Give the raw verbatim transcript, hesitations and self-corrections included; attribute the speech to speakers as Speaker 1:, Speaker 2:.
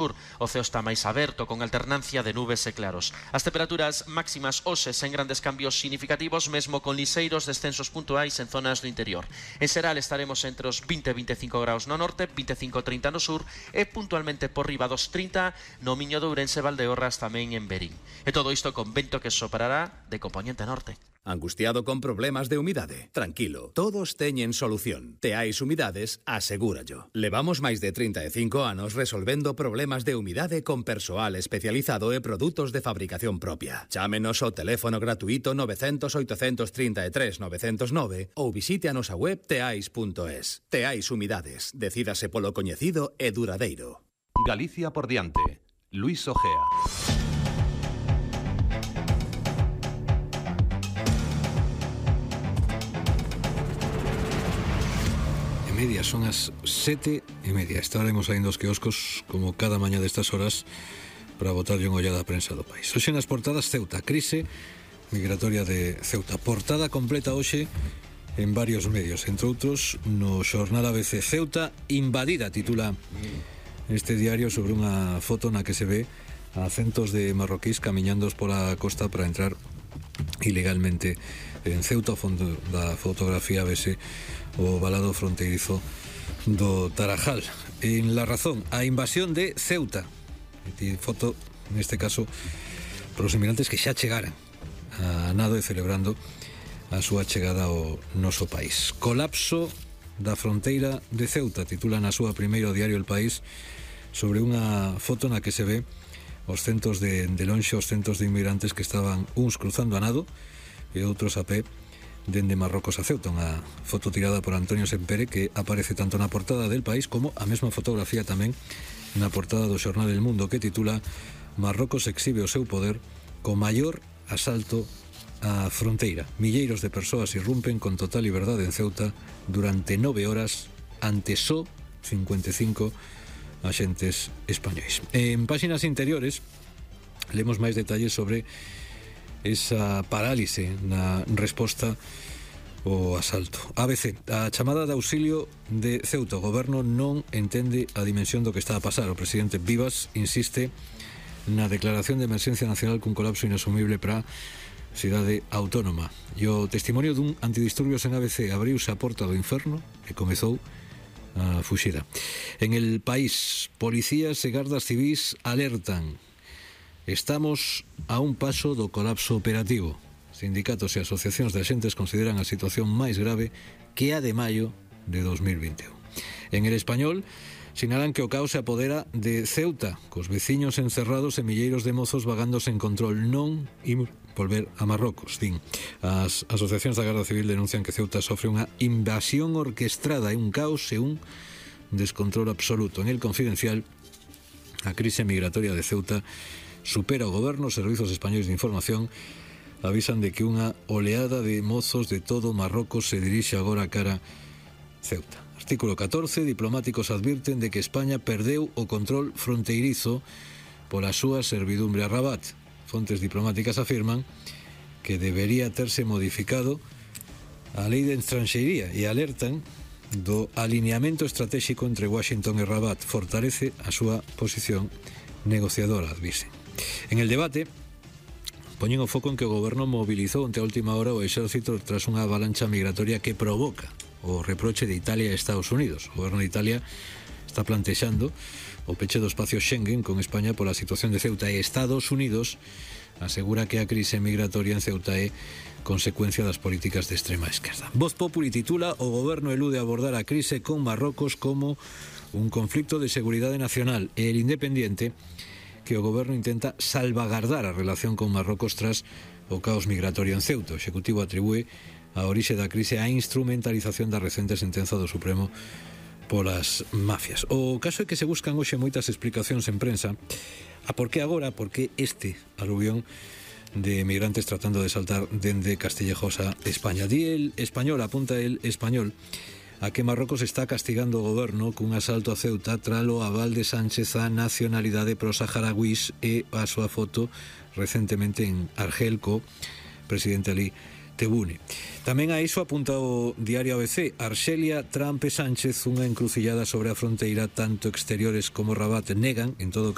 Speaker 1: O ceo está máis aberto, con alternancia de nubes e claros. As temperaturas máximas hoxe sen grandes cambios significativos, mesmo con liseiros descensos puntuais en zonas do interior. En xeral estaremos entre os vinte e veinticinco graus no norte, vinte e cinco a trinta no sur e puntualmente por riba dos trinta no Miño de Ourense, Valdeorras, tamén en Verín. E todo isto con vento que soprará de componente norte.
Speaker 2: Angustiado con problemas de humidade? Tranquilo, todos teñen solución. Teais Humidades asegúrallo. Levamos máis de trinta e cinco anos resolvendo problemas de humidade con persoal especializado e produtos de fabricación propia. Chámenos ao teléfono gratuito nove cero cero, oito tres tres, nove cero nove ou visite a nosa web teais punto es. Teais Humidades. Decídase polo coñecido e duradeiro.
Speaker 3: Galicia por diante. Luis Ojea.
Speaker 4: Media, son as sete e media. Estaremos saindo os quioscos como cada mañá destas horas para botarlle unha ollada á prensa do país. Hoxe nas portadas Ceuta, crise migratoria de Ceuta. Portada completa hoxe en varios medios, entre outros no xornal A B C. Ceuta invadida, titula este diario, sobre unha foto na que se ve a centos de marroquíes camiñandos pola costa para entrar ilegalmente en Ceuta. Ao fondo da fotografía vese o valado fronteirizo do Tarajal. En La Razón, a invasión de Ceuta. E foto, neste caso, para os inmigrantes que xa chegaran a nado e celebrando a súa chegada ao noso país. Colapso da fronteira de Ceuta, titula na súa primeiro diario El País, sobre unha foto na que se ve os centos de, de lonxe, os centos de inmigrantes que estaban uns cruzando a nado e outros a pé dende Marrocos a Ceuta. Unha foto tirada por Antonio Sempere que aparece tanto na portada del País como a mesma fotografía tamén na portada do xornal El Mundo, que titula Marrocos exhibe o seu poder co maior asalto á fronteira. Milleiros de persoas irrumpen con total liberdade en Ceuta durante nove horas ante só cincuenta e cinco axentes españois. En páxinas interiores lemos máis detalles sobre esa parálise na resposta ao asalto. A B C, a chamada de auxilio de Ceuta. O goberno non entende a dimensión do que está a pasar. O presidente Vivas insiste na declaración de emerxencia nacional cun colapso inasumible para a cidade autónoma. E o testimonio dun antidisturbios en A B C: abriuse a porta do inferno e comezou a fuxida. En El País, policías e gardas civís alertan: estamos a un paso do colapso operativo. Sindicatos e asociacións de axentes consideran a situación máis grave que a de maio de dos mil vinte e un. En El Español, sinalan que o caos se apodera de Ceuta, cos veciños encerrados e milleiros de mozos vagando sen control. Non imos volver a Marrocos, din. As asociacións da Garda Civil denuncian que Ceuta sofre unha invasión orquestrada e un caos e un descontrol absoluto. En El Confidencial, a crise migratoria de Ceuta supera o goberno. Os servizos españois de información avisan de que unha oleada de mozos de todo Marrocos se dirixe agora cara Ceuta. Artículo catorce, diplomáticos advirten de que España perdeu o control fronteirizo pola súa servidumbre a Rabat. Fontes diplomáticas afirman que debería terse modificado a lei de estranxeiría e alertan do alineamento estratégico entre Washington e Rabat. Fortalece a súa posición negociadora, advisen. En El Debate poñen o foco en que o goberno mobilizou ante a última hora o exército tras unha avalancha migratoria que provoca o reproche de Italia e Estados Unidos. O goberno de Italia está plantexando o peche do espacio Schengen con España pola situación de Ceuta, e Estados Unidos asegura que a crise migratoria en Ceuta é consecuencia das políticas de extrema esquerda. Voz Populi titula: o goberno elude abordar a crise con Marrocos como un conflicto de seguridade nacional, e El Independiente que o goberno intenta salvagardar a relación con Marrocos tras o caos migratorio en Ceuta. O Executivo atribúe a orixe da crise á instrumentalización da recente sentenza do Supremo polas mafias. O caso é que se buscan hoxe moitas explicacións en prensa a por que agora, por que este aluvión de migrantes tratando de saltar dende Castillejos a España. Di El Español, apunta El Español, a que Marrocos está castigando o goberno cun asalto a Ceuta tralo aval de Sánchez a nacionalidade pro-saharauís e a súa foto recentemente en Argel co presidente Ali Tebboune. Tamén a iso apunta o diario A B C: Arxelia, Trump e Sánchez, unha encrucillada sobre a fronteira, tanto exteriores como Rabat negan, en todo